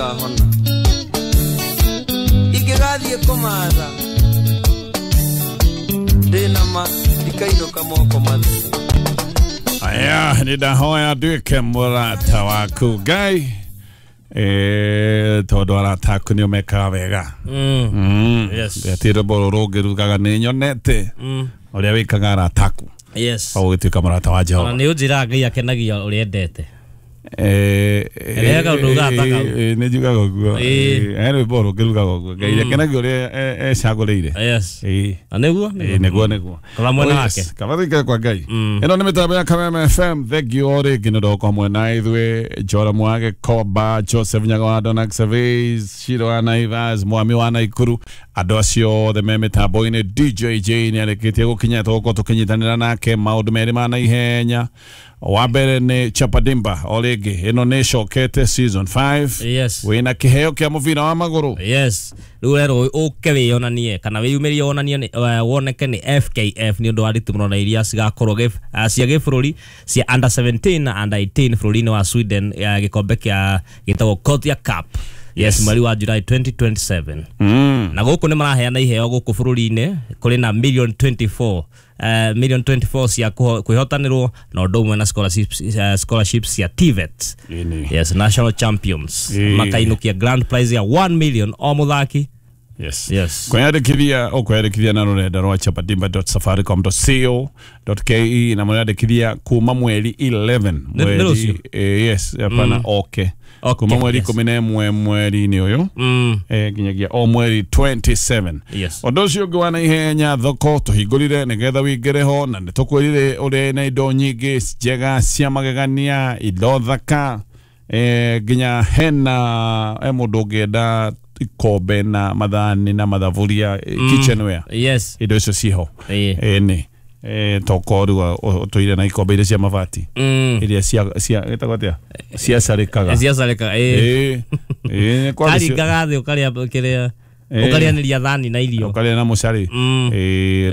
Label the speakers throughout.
Speaker 1: Ndikahona ingĩgathiĩ kũmatha ndĩna ma ndikainũka moko matheri.
Speaker 2: Aya, nĩndahoya nduĩke mũrata waku Ngai, tondũ arata aku nĩo mekaga wega.
Speaker 3: Yes.
Speaker 2: Ati rwĩmbo rũrũ rũngĩrugaga nĩ nyonete ũrĩa wĩkaga arata aku.
Speaker 3: Yes.
Speaker 2: Ũgĩtuĩka mũrata wa Jehova.
Speaker 3: Ona nĩ ũnjĩraga Ngai akenagia ũrĩa endete. Rehaga ũndũ ugaga ta kau.
Speaker 2: Nĩ njugaga ũguo. He rwĩmbo rũngĩrugaga ũguo Ngai akenagia ũrĩa ecagũrĩire.
Speaker 3: Yes. Na nĩguo?
Speaker 2: Nĩguo nĩguo.
Speaker 3: Kaba mwena
Speaker 2: Oh,
Speaker 3: wake.
Speaker 2: yes. Kaba tũikare kwa Ngai. Ĩno nĩ mĩtambo ya Kameme FM. Thank you o rĩngĩ nĩ ũndũ wa gũkorwo hamwe na ithuĩ. Joram wa Gĩkomba, Joseph Nyaga wa Donax Surveys, Shiro wa Naivas, Mwami wa Naikuru, andũ acio othe me mĩtambo-inĩ. DJ J nĩ arĩkĩtie gũkinya, tũgũkorwo tũkĩnyitanĩra nake maũndũ merĩ ma naihenya. Wa mbere nĩ Chapadimba o rĩngĩ, ĩno nĩ ĩcokete season 5.
Speaker 3: Yes.
Speaker 2: Wĩna kĩheo kĩa mũbira wa magũrũ.
Speaker 3: Yes. Rĩu ũrerwo ũke wĩyonanie kana wĩyumĩrie wonanie woneke nĩ FKF nĩ ũndũ wa nditimũrano na iria cigakorwo cia gĩbũrũri cia under 17 na under 18 bũrũri-inĩ wa Sweden, gĩkombe kĩa gĩtagwo Gothia Cup. Yes, mweri wa July 2027. Na gũkũ nĩ maraheana iheo gũkũ bũrũri-inĩ, kũrĩ na million 24 million 24 cia kwĩhotanĩrwo na ũndũ ũmwe na scholarships cia TVET.
Speaker 2: Ĩni.
Speaker 3: Yes, national champions makainũkia grand prize ya 1 million o mũthaki.
Speaker 2: Yes.
Speaker 3: Yes.
Speaker 2: Kwĩyandĩkithia ũkwĩyandĩkithia na rũrenda rwa chapadimba.safaricom.co.ke na mũrĩandĩkithia kuma mweri 11
Speaker 3: Nĩ rũciũ?
Speaker 2: Yes, hapana, okay.
Speaker 3: Okay,
Speaker 2: kuma mweri
Speaker 3: yes.
Speaker 2: 11 mweri-inĩ ũyũ nginyagia o mweri 27.
Speaker 3: Yes.
Speaker 2: Ũndũ ũcio ũngĩ wa naihenya, thoko tũhingũrire nĩgetha wĩingĩre ho, na nĩtũkwĩrire ũrĩ na indo nyingĩ njega cia magegania, indo thaka, nginya hena mũndũ ũngĩenda ikombe na mathani na mathaburia, kitchenware.
Speaker 3: Yes.
Speaker 2: Indo icio ciho. Nĩ toko rĩu ũtũire na ikombe iria cia mabati iria cia gĩtagwo atĩa, ciacarĩkaga.
Speaker 3: Ciacarĩkaga.
Speaker 2: Ĩ, kwa gĩcio-
Speaker 3: Karingaga thĩ ũkarĩa kĩrĩa ũkarĩanĩria thani na irio.
Speaker 2: Ũkarĩa na mũcari.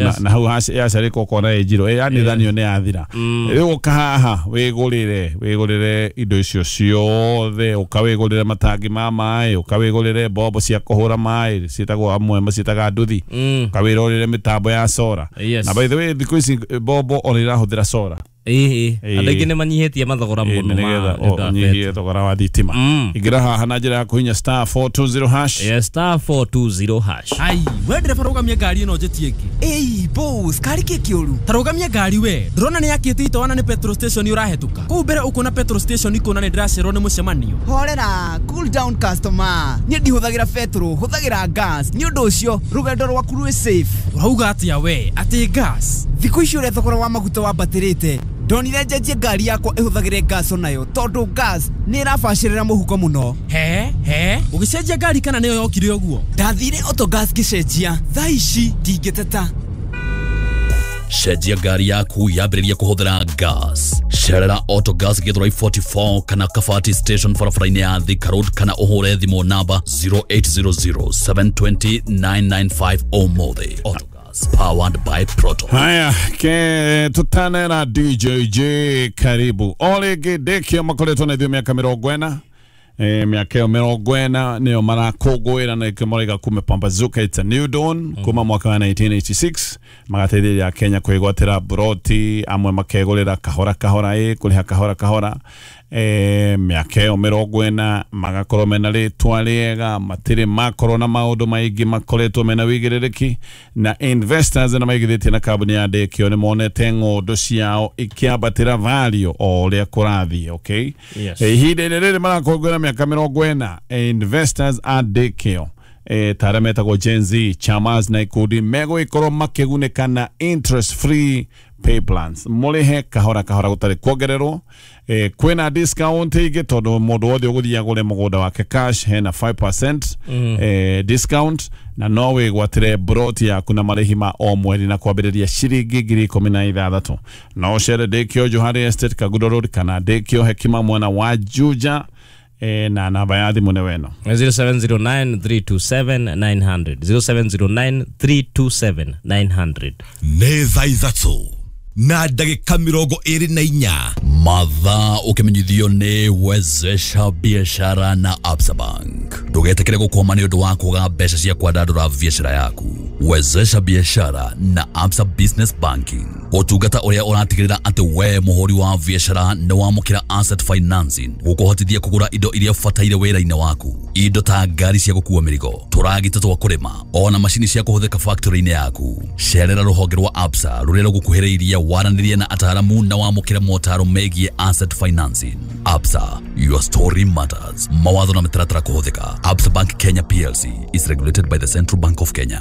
Speaker 3: Yes.
Speaker 2: Na hau yacarĩka ũkona ĩ njirũ. Yani thani ĩyo nĩ yathira. Rĩu ũka haha wĩgũrĩre indo icio ciothe, ũka wĩgũrĩre matangi ma maĩ, ũka wĩgũrĩre mbombo cia kũhũra maĩ ciĩtagwo, amwe maciĩtaga nduthi, ũka wĩrorere mĩtambo ya sora.
Speaker 3: Yes.
Speaker 2: Na by the way, thikũ ici mbombo ona irahũthĩra sora.
Speaker 3: Ĩ, andũ aingĩ nĩ manyihĩtie mathogora mũno ma
Speaker 2: nĩgetha
Speaker 3: nĩ ũndũ wa
Speaker 2: ũnyihie thogora wa thitima. Ingĩra haha na njĩra ya kũhinya star 420 hash.
Speaker 3: Yes, star 420 hash.
Speaker 4: Ai, we ndereba, rũgamia ngari ĩno njĩtie ĩngĩ.
Speaker 5: Ĩi boss, kari kĩ kĩũru?
Speaker 4: Ta rũgamia ngari we, ndĩrona nĩ yakĩte itawa na nĩ petrol station ũrahĩtũka kũu mbere, ũkuona petrol station ikuona nĩ ndĩracererwo nĩ mũcemanio.
Speaker 5: Horera, cool down customer, niĩ ndihũthagĩra betũrũ, hũthagĩra gas, nĩ ũndũ ũcio rũgendo rwaku rwĩ safe.
Speaker 4: Ũrauga atĩa we, atĩ gas?
Speaker 5: Thikũ ici ũrĩa thogora wa maguta wambatĩrĩte, ndonire njenjie ngari yakwa ĩhũthagĩre gas onayo, tondũ gas nĩ ĩrabacĩrĩra mũhuko mũno.
Speaker 4: He he, ũgĩcenjia ngari kana nĩyo yokire ũguo?
Speaker 5: Ndathire Autogas ngĩcenjia, thaa ici ndingĩteta.
Speaker 6: Cenjia ngari yaku yambĩrĩria kũhũthĩra gas. Cerera Autogas Githurai 44 kana Kabati station barabara-inĩ ya Thika Road, kana ũhũre thimũ namba 0800 720 995 ũmũthĩ. Autogas, powered by Proton.
Speaker 2: Haya, ke tutanera DJJ karibu o rĩngĩ. Ndĩkĩo makoretwo na ithuĩ mĩaka 40, mĩaka ĩyo 40 nĩyo marakũngũĩra, na nĩkĩo maraiga kumepambazuka, it's a new dawn. Kuma mwaka wa 1986 magateithĩrĩria Kenya kwĩgwatĩra buroti, amwe makegũrĩra kahora kahora, kũrĩha kahora kahora. Mĩaka ĩyo 40 magakorwo mena rĩtwa rĩega, matirĩ makorwo na maũndũ maingĩ, makoretwo mena wĩigĩrĩrĩki, na investors na maigithĩtie na kambuni ya Ndĩkĩo nĩ monete ng'ũndũ ciao ikĩambatĩra value o ũrĩa kũrathiĩ, okay?
Speaker 3: Yes.
Speaker 2: Ihinda-inĩ rĩrĩ marakũngũĩra mĩaka 40, investors a Ndĩkĩo ta arĩa metagwo Gen Z chamas na ikundi megũgĩkorwo makĩgunĩka na interest free pay plans, mũrĩhe kahora kahora gũtarĩ kuongererwo. Kwĩna discount ĩngĩ tondũ mũndũ wothe ũgũthiĩ agũre mũgũnda wake cash hena 5% discount, na no wĩgwatĩre broti yaku na marĩhi ma o mweri na kwambĩrĩria ciringi 16,000. No ũcere Ndĩkĩo Johari Estate, Kagudo Road, kana Ndĩkĩo Hekima mwena wa Juja, na namba ya thimũ nĩ weno.
Speaker 3: 0709 327 900, 0709 327 900.
Speaker 6: Nĩ thaa 3:24 mathaa, ũkĩmenyithio nĩ Wezesha Biashara na Absa Bank. Ndũgetĩkĩre gũkwama nĩ ũndũ wa kwaga mbeca cia kwandandũra biacara yaku. Wezesha biashara na Absa Business Banking, ũtungata ũrĩa ũratigĩrĩra atĩ we mũhũri wa biacara nĩ wamũkĩra asset financing gũkũhotithia kũgũra indo iria ũbataire wĩra-inĩ waku, indo ta ngari cia gũkua mĩrigo, tũragita twa kũrĩma, ona macini cia kũhũthĩka factory-inĩ yaku. Cerera rũhonge rwa Absa rũrĩa rũgũkuhĩrĩirie, waranĩrie na ataaramu na wamũkĩre motaro megiĩ asset financing. Absa, your story matters. Mawatho na mĩtaratara kũhũthĩka. Absa Bank Kenya PLC is regulated by the Central Bank of Kenya.